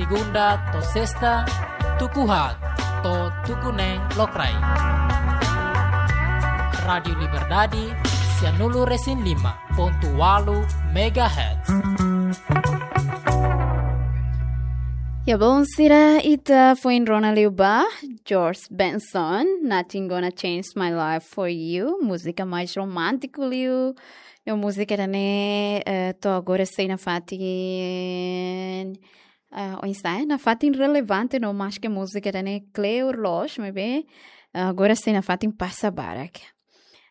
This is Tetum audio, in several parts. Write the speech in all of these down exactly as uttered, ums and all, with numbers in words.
Segunda to'o sesta, tuku haat to'o tuku neen lokraik. Rádiu Liberdade, sianulu-resin-lima pontu ualu megahertz. Ya, bon, sira, ita foin rona liu ba George Benson, Nothing Gonna Change My Life for You, múzika mais romántiku liu. No múzika ida-ne'e, eh, to'o agora sei nafatin, eh, oinsá, nafatin relevante, no maske múzika ida-ne'e kleur loos, maibé, eh, agora sei nafatin pasa barak.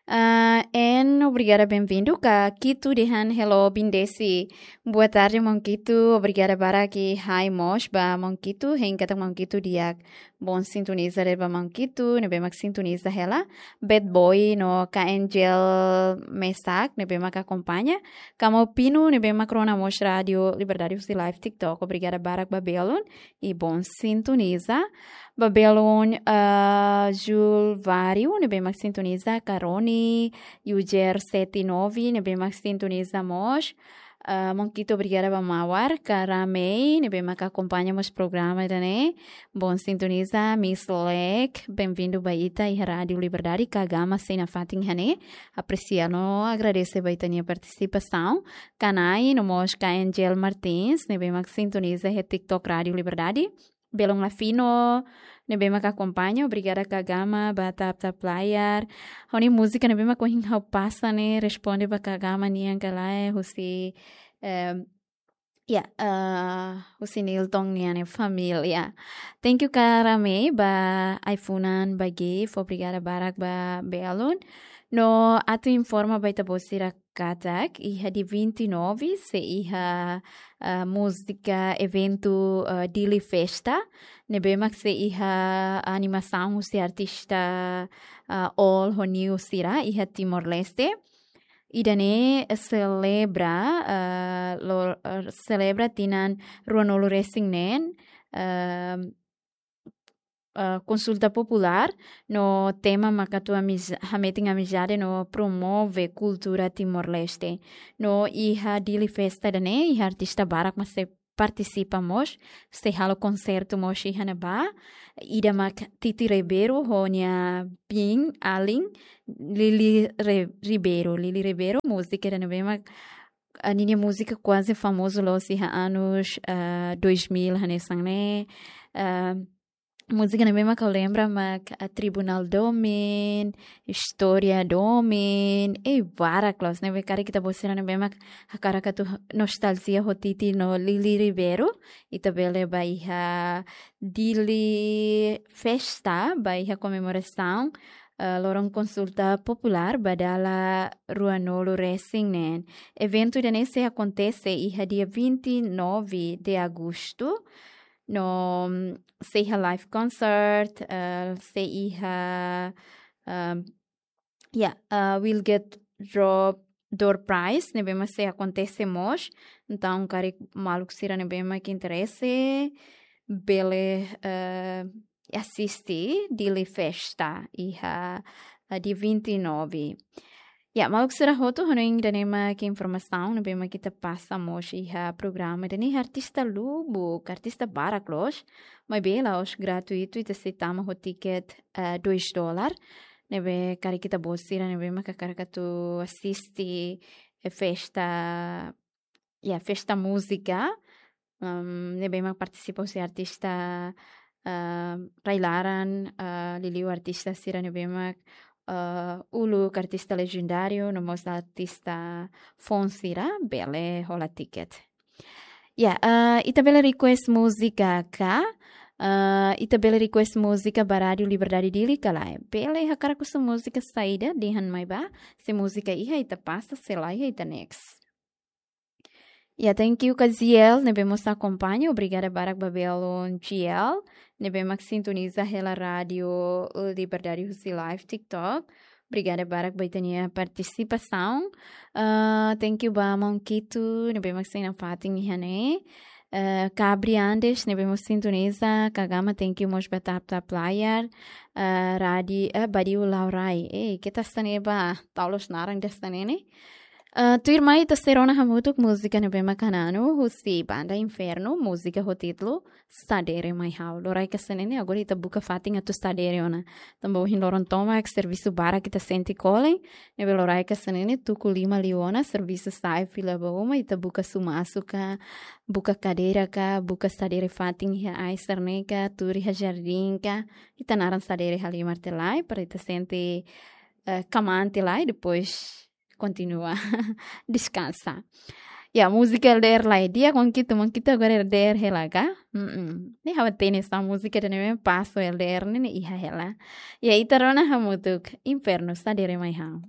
Ah, en obrigada, benvindu ka Kitu dehan hello, bindesi. Boa tarde, maun Kitu. Obrigada barak i hai mós ba maun Kitu, hein katak maun Kitu di'ak. Bon sintoniza de'it ba maun Kitu, ne'ebé mak sintoniza hela. Bad Boy no ka Angel Mesak, ne'ebé mak akompaña. Ka maun Pino, ne'ebé mak rona mós Rádiu Liberdade husi live TikTok. Obrigada barak ba belun i bon sintoniza. Ba belun, ah, Jul Vario, ne'ebé mak sintoniza, Karoni, User sete nove, ne'ebé mak sintoniza mós. Ah, maun Kitu, obrigada ba Mawar, ka Ramei, ne'ebé mak akompaña mós programa ida-ne'e. Bon sintoniza, Miss Lek, benvindu ba ita iha Rádiu Liberdade, ka Gama sei nafatin iha ne'e. Apresia no agradese ba ita-nia partisipasaun. Ka Nai, no mós ka Angel Martins, ne'ebé mak sintoniza iha TikTok Rádiu Liberdade. Belun Lafino, ne'ebé mak akompaña, obrigada ka Gama ba tap tap layar. Ha'u-nia múzika ne'ebé mak ohin ha'u pasa ne'e, responde ba ka Gama nian ka lae, husi, em, ya, eh, husi Nilton nian nia família. Thank you ka Ramei ba ai-funan ba gift, obrigada barak ba belun. No atu informa ba ita-boot sira katak, iha dia vinte e nove, sei iha, ah, múzika eventu, ah, Dili Festa, ne'ebé mak sei iha animasaun husi artista, ah, old ho new sira, iha Timor-Leste. Ida-ne'e selebra, ah, lo, ah, selebra tinan ruanulu-resin-neen, ah, ah, konsulta populár, no tema mak atu amiz-, hametin amizade no promove kultura Timor-Leste. No iha Dili Festa ida-ne'e, iha artista barak mak sei partisipa mós, sei halo konsertu mós iha ne'ebá. Ida mak Titi Ribeiro ho nia biin alin Lili Re-, Ribeiro. Lili Ribeiro, múzika ida ne'ebé mak, ah, ninia múzika kuaze famozu loos iha anus, ah, dois mil hanesan ne'e. Ah, múzika ne'ebé mak ha'u lembra mak, ah, Tribunal Domin, Istória Domin, i barak loos, ne'ebé karik ita-boot sira ne'ebé mak hakarak atu nostalgia ho Titi no Lili Ribeiro, ita bele bá iha Dili Festa, bá iha komemorasaun, ah, loron konsulta populár ba dala ruanulu-resin-neen. Eventu ida-ne'e sei akontese iha dia vinte e nove de agosto, no, mm, sei iha live concert, eh, sei iha, ehm, ya, eh, will get drop door prize, ne'ebé mak sei akontese mós. Entaun, karik maluk sira ne'ebé mak interese, bele, eh, asiste Dili Festa iha, eh, dia vinte e nove. Ya, maluk sira hotu, hanoin ida-ne'e mak informasaun ne'ebé mak ita pasa mós iha programa ida-ne'e, artista lubuk, artista barak loos, maibé la'ós gratuitu, ita sei tama ho tiket, eh, dois dólar. Ne'ebé karik ita-boot sira ne'ebé mak hakarak atu asiste, eh, festa, ya, festa múzika, em, ne'ebé mak partisipa husi artista, eh, rai-laran, eh, liuliu artista sira ne'ebé mak, eh, uluk, artista lejendáriu, no mós artista foun sira, bele hola tiket. Ya, eh, ita bele request múzika ka, eh, ita bele request múzika ba Rádiu Liberdade Dili ka lae. Bele, hakarak husu múzika saida, dehan mai bá, se múzika iha ita pasa, se la iha ita next. Ya, thank you ka Ziel, ne'ebé mós akompaña, obrigada barak ba belun Ziel, ne'ebé mak sintoniza hela Rádiu Liberdade husi live TikTok. Obrigada barak ba ita-nia partisipasaun. Ah, thank you ba maun Kitu, ne'ebé mak sei nafatin iha ne'e. Ah, Kabri Andes, ne'ebé mós sintoniza, ka Gama, thank you mós ba tap tap layar. Ah, Radi, eh, Badiu Laurai. Eh, keta hanesan ne'e ba, tau loos naran hanesan ne'e ne'e. Ah, tuirmai ita sei rona hamutuk múzika ne'ebé mak hananu husi banda Inferno, múzika ho títulu Sadere Mai Ha'u. Loraik hanesan ne'e, agora ita buka fatin atu sadere ona. Tanba ohin loron tomak servisu barak ita sente kolen, ne'ebé loraik hanesan ne'e, tuku lima liu ona, servisu sa'e fila ba uma, ita buka sumasu ka, buka kadeira ka, buka sadere fatin iha ai sira-ne'e ka, tuur iha jardín ka, ita naran sadere halimar tiha lai, para ita sente, eh, kamante lai, depois kontinua deskansa. Ya, múzika L D R lai di'ak, mak ita, mak ita agora L D R hela ka? Mm-mm. Ne'e ha'u hatene hanesan múzika ida-ne'e mak paso L D R ne'e, ne'e iha hela. Ya, ita rona hamutuk Inferno Sadere Mai Ha'u.